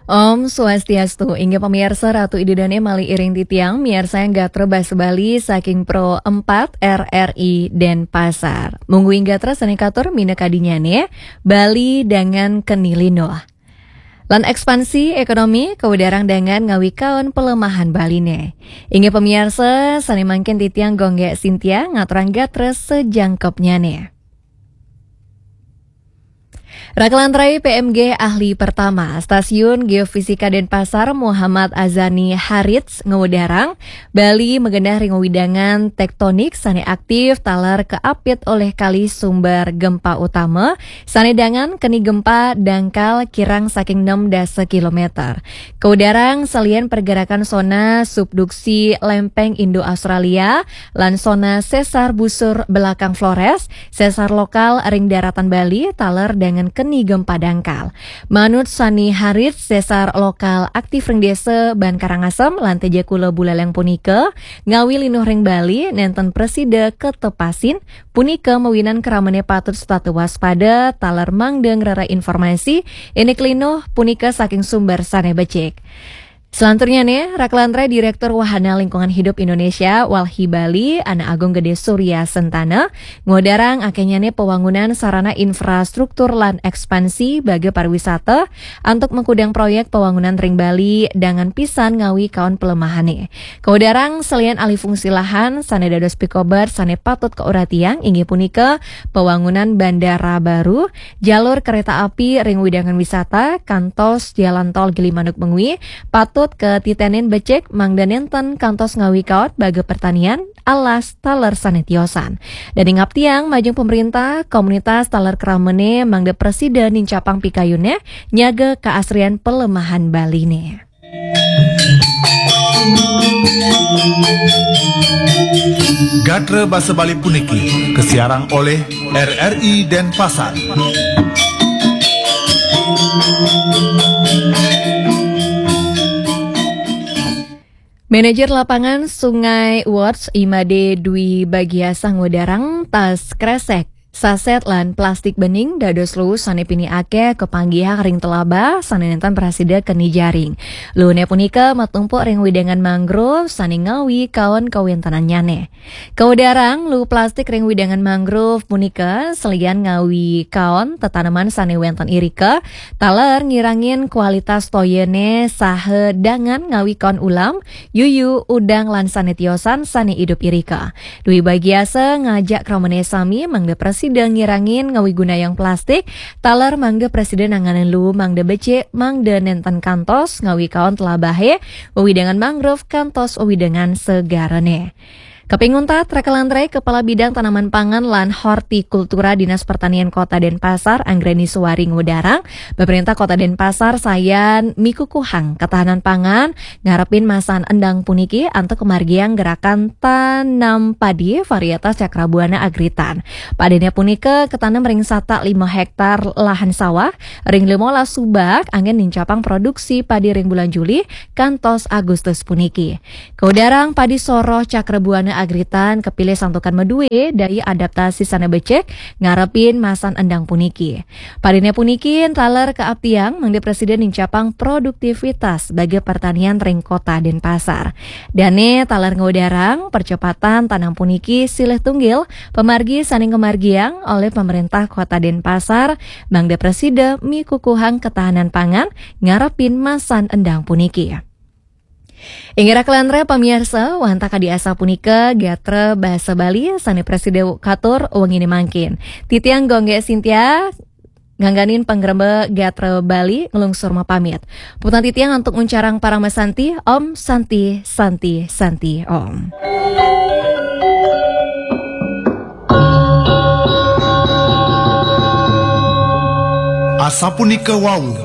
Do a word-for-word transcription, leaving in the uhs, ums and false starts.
Om Swastiastu, inggih pamirsa, Ratu Ida Dane malih iring titiang miarsayang gatra basa Bali saking Pro empat R R I Denpasar. Mungguing gatra sane katur minakadinyane, Bali dangan keni linuh. Lan ekspansi ekonomi kawedarang dangan ngawi kaon pelemahan Baline. Inggih pamirsa, sane mangkin titiang Gonggek Sintia ngaturang gatra sajangkepnyane. Rakelan rai P M G ahli pertama Stasiun Geofisika Denpasar, Muhammad Azani Harits, ngewedarang, Bali magenah ring wewidangan tektonik sane aktif taler kaapit olih kalih sumber gempa utama, sane dangan keni gempa dangkal kirang saking enam dasa kilometer. Kawedarang salian pergerakan sona subduksi lempeng Indo-Australia, lan sona sesar busur belakang Flores, sesar lokal ring daratan Bali, taler dangan keni gempa dangkal. Manut Sani Harit, sesar lokal aktif ring desa Ban Karangasem lan Tejakula Buleleng punika, ngawi linuh ring Bali, nenten prasida katepasin, punika mawinan kramane patut setata waspada, taler mangda ngrereh informasi, indik linuh punika saking sumber sane becik. Selanturnyane, rakelan rai Direktur Wahana Lingkungan Hidup Indonesia, Walhi Bali, Anak Agung Gede Surya Sentana, ngodarang akenyane pewangunan sarana infrastruktur lan ekspansi baga pariwisata antuk mengkudang proyek pewangunan ring Bali dangan pisan ngawi kaon pelemahane. Kaudarang salian alih fungsi lahan sane dados pikobar sane patut kauratiang inggih punika pewangunan bandara baru, jalur kereta api ring wewidangan wisata, kantos jalan tol Gilimanuk mengwi, patut katitenin becik mangda nenten kantos ngawi kaot baga pertanian, alas, taler sane tiosan. Dan ingaptiang majeng pemerintah, komunitas taler kramane mangda prasida nincapang pikayune nyaga keasrian pelemahan Baline. Gatra basa Bali puniki kasiarang oleh R R I Denpasar. Manajer lapangan Sungai Watch Imade Dwi Bagiasa ngudarang tas kresek, saset lan plastik bening dados luus sane pini akeh kapanggihang ring telaba sane nenten prasida keni jaring. Luune punika matumpuk ring wewidangan mangrove sane ngawi kaon kawentenannyane. Kawedarang luh plastik ring wewidangan mangrove punika salian ngawi kaon tetaneman sane wenten irika, taler ngirangin kualitas toyane saha dangan ngawi kaon ulam, yuyu, udang lan sane tiosan sane idup irika. Dwi Bagiasa ngajak kramane sami mangda prasida ngirangin ngawi gunayang plastik, taler mangda prasida nanganin luh mangda becik, mangda nenten kantos ngawi kaon telabahe, wewidangan mangrove kantos wewidangan segarane. Kaping untat, rakelan rai Kepala Bidang Tanaman Pangan lan Hortikultura Dinas Pertanian Kota Denpasar, Anggreni Suwari ngudarang, pemerintah Kota Denpasar sayan mikukuhang ketahanan pangan, ngarepin masan endang puniki antuk kemargiang gerakan tanam padi varietas Cakrabuana Agritan. Padine punika ketanem ring satak lima hektar lahan sawah, ring limolas subak anggen nincapang produksi padi ring bulan Juli kantos Agustus puniki. Kaudarang padi soroh Cakrabuana Agritan kapilih santukan madue daya adaptasi sane becik ngarepin masan endang puniki. Padine puniki taler kaaptiang mangda prasida nincapang produktivitas baga pertanian ring Kota Denpasar. Dane taler ngudarang percepatan tanam puniki silih tunggil pamargi sane ngamargiang olih pemerintah Kota Denpasar mangda prasida mikukuhang ketahanan pangan ngarepin masan endang puniki. Inggih rakelan rai pamirsa, wantah kadi asapunika gatra basa Bali sane prasida katur wengine mangkin. Titiang Gonggek Sintia ngangganin pangremba gatra Bali nglungsur mapamit. Puputang titiang antuk nguncarang parama santi, Om Santi, Santi, Santi, Om. Asapunika wau